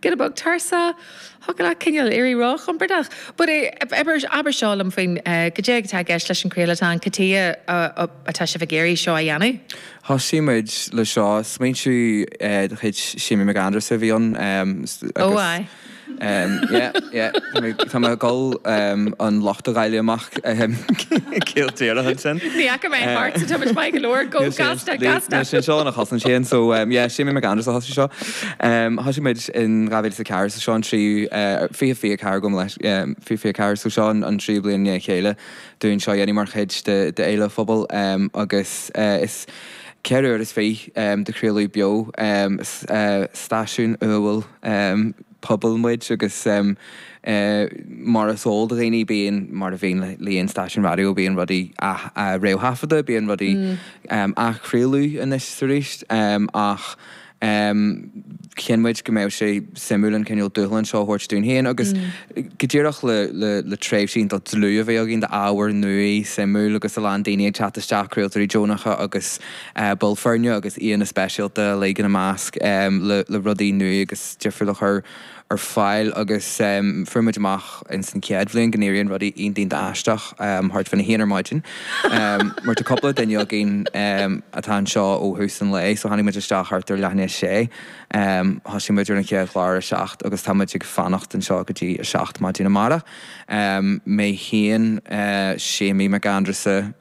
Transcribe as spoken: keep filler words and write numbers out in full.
Giota beag tuirseach, thiocfadh leat cineál éirí róchompordach. But abair abair seo liom faoin goidé atá i gceist leis an chraoladh, cad chuige atá sibh ag iarraidh seo a dhéanamh. Thosaigh muid le seo, smaointiú de chuid Séimí Mac Aindreasa a bhí ann Ó aye. Yeah, yeah, tá mé ag dul an locht a dháileadh amach céad díreach ansin. Ní fhaca mé thart sa tá maith go leor go gasta gasta. Sin seo ina chosaint féin, so yeah, Séimí Mac Aindreasa a thosaigh seo. Thosaigh muid in dhá mhíle is a ceathair, so seo an tríú fiche fiche ceathair gabh mo leith fiche fiche ceathair, so seo an tríú bliain i ndiaidh a chéile dúinn seo a dhéanamh mar chuid de fhéile phobail agus is ceithre uair is fiche de chraoladh beo stáisiún umhal pobail muid agus mar is eol do dhaoine bíonn mar a bhíonn le haon stáisiún raidió bíonn rudaí réamhthaifeadta, bíonn rudaí athchraoladh anois is arís ach chinn muid go mbeadh sé suimiúil an cineál dúshlán seo a thabhairt dúinn féin agus go díreach le le le tréimhsí iontach dlúth a bheith againn d'ábhar nua suimiúil agus a lán daoine ag teacht isteach, craoltóirí deonacha agus baill foirne agus aíonna speisialta uilig ina measc le le rudaí nua agus difriúil a chur ar fáil agus fuair muid amach ins an chéad bhliain go n-éiríonn rudaí iontach iontach aisteach thart faoina haon ar maidin mar tá cúpla duine againn atá anseo ó thús an lae so tháinig muid isteach thart ar leath i ndiaidh a sé thosaigh muid ar an chéad chlár a seacht agus tá muid ag fanacht anseo go dtí a seacht maidin amárach. Mé féin, Séimí Mac Aindreasa,